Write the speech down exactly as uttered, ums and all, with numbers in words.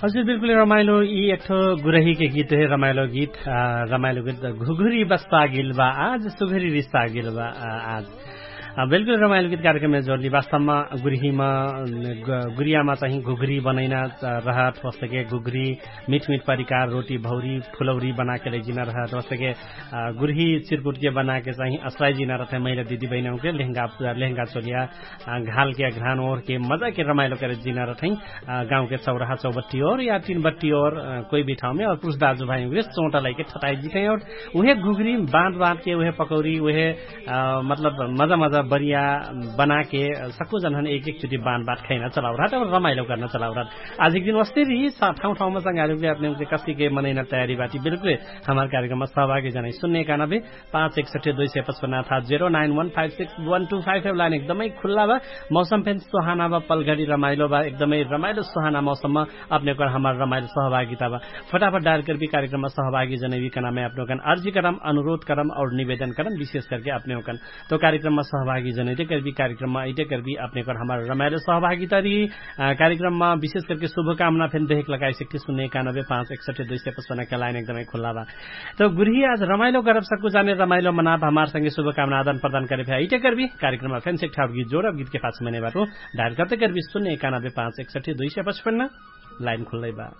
हजुर बिल्कुल रमाइलो यि एकठो गुरही के गीत हे रमाइलो गीत। रमाइलो गीत घुघुरी बस्ता गिल बा आज सुघुरी रिस्ता गिल बा। आज बिल्कुल रमाइलो गीत कार्यक्रम मे जोर्नी वास्तवमा गुरहीमा गुरियामा चाहि घुघुरी बनैना रहत होस्तके घुघुरी मिठमिठ परिकार रोटी भौरी फुलौरी बनाके लैजिना रहत होस्तके गुरही चिरकुटके बनाके चाहि असराइजिना रहत है महिला दिदी बहिनौके लेहगा चोलिया घालके अग्रहान ओरके मजाके रमाइलो करे जिना रठै। गाउँके चौराहा चौबट्टी ओर या तीन बट्टी ओर कोइ भी ठाउँमे और पुरुष दाजु भाइ उहे चौटा लैके ठटाइ जितै और उहे घुघरी बाँध बाँधके उहे पकौरी उहे मतलब मजा मजा बरिया बनाके सक्कु जनहन एक एक चुटी बाँध बाँध खैना चलाउ रहत और रमाइलो कर्ना चलाउ रहत। आज एक दिन वस्ते भी ठाउँ ठाउँमा संगारिके अपने उनके कस्तिके मनैना तयारी बाटी बिल्कुल हमार कार्यक्रममा सहभागी जनै सुन्ने काना भी पाँच एकसठ्ठी दुई सय पचपन्न अर्थात zero nine one five six one two five line एकदमै खुल्ला बा। मौसम फेन सोहाना बा पलघडी रमाइलो बा एकदमै रमाइलो सोहाना मौसममा अपने ओकन हमार रमाइलो सहभागिता बा। फटाफट डायल करबी कार्यक्रममा सहभागी जनैबी कनामे अपने ओकन अर्जी करम अनुरोध करम और निवेदन करम विशेष करके अपने ओकन तो कार्यक्रममा सहभागी जनैते करबी कार्यक्रममा अइते करबी अपने ओकन हमार रमाइलो सहभागिता री। कार्यक्रममा विशेष करके शुभकामना फेन देहेक लगाइसक्थे सुन्ने एकानबे पाँच एकसठ्ठी दुई सय पचपन्न के लाइन एकदमै खुल्ला बा। त गुरही आज रमाइलो गरब सक्कु जाने रमाइलो मनाब हमार संगे शुभकामना आदान प्रदान करे भ्या इटे करबी। कार्यक्रममा फेन सेक ठाउर गीत जोरब गीतके पाछ मने बाटो डायल करते करबी सुन्ने एकानबे पाँच एकसठ्ठी दुई सय पचपन्न लाइन खुल्लै बा।